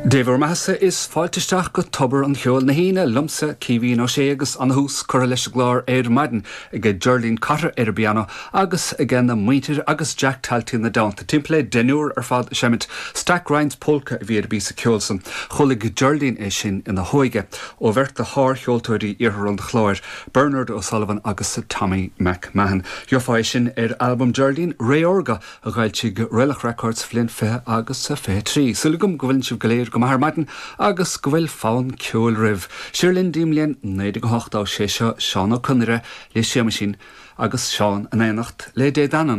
Dé bhur mbeathasa is fáilte isteach go Tobar an Cheoil na hAoine liomsa, Caoimhín Ó Sé agus ana-thús curtha leis an gclár ar maidin ag Geraldine Cotter ar an bpianó agus ag na muintir agus Jack Talty ina dteannta. Timpeall le deichniúr ar fad ag seimint. Stack Ryan's Polka a bhí ar an bpíosa ceoil san. Chualaigh Geraldine é sin ina hóige ó bheirt de shár-cheoltóirí Iarthar an Chláir, Bernard O'Sullivan agus Tommy McMahon. Gheofá é sin ar albam Geraldine, Ré Órga, a dh'fhoilsigh Raelach Records sa bhliain 20 agus 23. Súil agam go bhfuileann sibh go léir go maith ar maidin agus go bhfuil fonn ceoil roimh. Siar linn dtí'n mbliain 1980, sé seo Seán Ó Conaire le Séamaisín agus Seán in éineacht le Dé Danann.